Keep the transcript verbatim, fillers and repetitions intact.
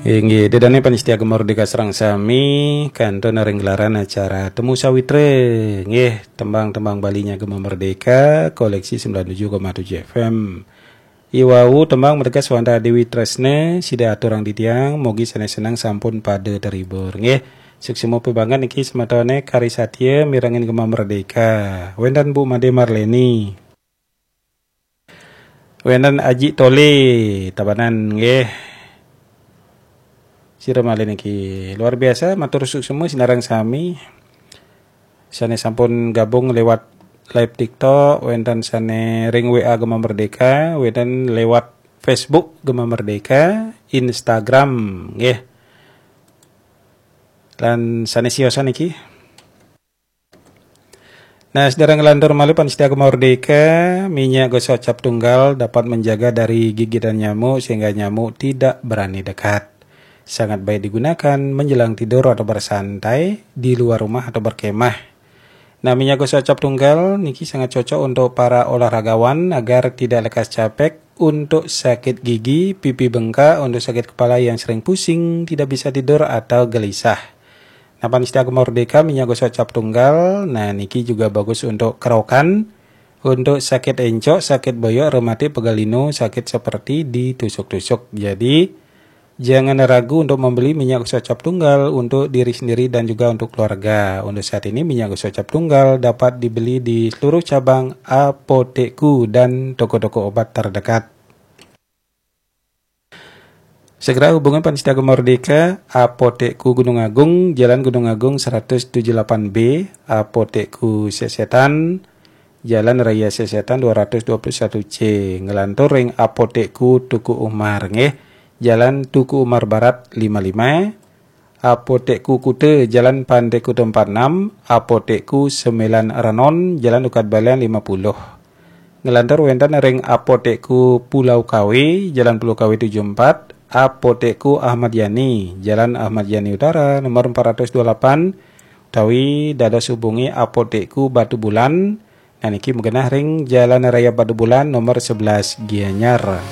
Inggih, ida dané pamiarsa Gema Merdeka sareng sami, kantun ring gelaran acara Temu Sawitra. Nggih, tembang-tembang Balinya Gema Merdeka, koleksi sembilan tujuh koma tujuh F M. Iwau tembang mateges wantah Dewi Tresna, sida aturang titiang, mugi sané seneng sampun pada terhibur. Nggih, suksma pibanget niki semetoné kari satia mirengin Gema Merdeka. Wénten Bu Made Marleni. Wénten Aji Tole, Tabanan nggih. Sira malih niki. Luar biasa, matur suksma sinareng sami. Sané sampun gabung lewat live TikTok, wénten sané ring W A Gema Merdeka, wénten lewat Facebook Gema Merdeka, Instagram nggih. Lan sané siosan niki. Nah, sedherek nglantur malih pamiarsa Gema Merdeka, minyak gosok cap tunggal dapat menjaga dari gigitan nyamuk sehingga nyamuk tidak berani dekat. Sangat baik digunakan menjelang tidur atau bersantai di luar rumah atau berkemah. Nah, minyak gosok cap tunggal niki sangat cocok untuk para olahragawan agar tidak lekas capek, untuk sakit gigi, pipi bengkak, untuk sakit kepala yang sering pusing, tidak bisa tidur atau gelisah. Nah, pamiarsa Gema Merdeka, minyak gosok cap tunggal. Nah, niki juga bagus untuk kerokan, untuk sakit encok, sakit boyok, rematik, pegal linu, sakit seperti ditusuk-tusuk. Jadi, jangan ragu untuk membeli minyak gosok cap tunggal untuk diri sendiri dan juga untuk keluarga. Untuk saat ini, minyak gosok cap tunggal dapat dibeli di seluruh cabang Apotekku dan toko-toko obat terdekat. Segera hubungi pamiarsa Gema Merdeka, Apotekku Gunung Agung, Jalan Gunung Agung seratus tujuh delapan B, Apotekku Sesetan, Jalan Raya Sesetan dua ratus dua puluh satu C, nglantur ring Apotekku Teuku Umar nggih, Jalan Teuku Umar Barat lima lima, Apotekku Kuta, Jalan Pantai Kuta empat enam, Apotekku Sembilan Renon, Jalan Ukat Balian lima puluh. Nglantur wénten ring Apotekku Pulau Kawe, Jalan Pulau Kawe tujuh empat, Apotekku Ahmad Yani, Jalan Ahmad Yani Utara, nomor empat ratus dua puluh delapan, utawi dados hubungi Apotekku Batubulan. Nah, niki magenah ring Jalan Raya Batubulan nomor sebelas Gianyar.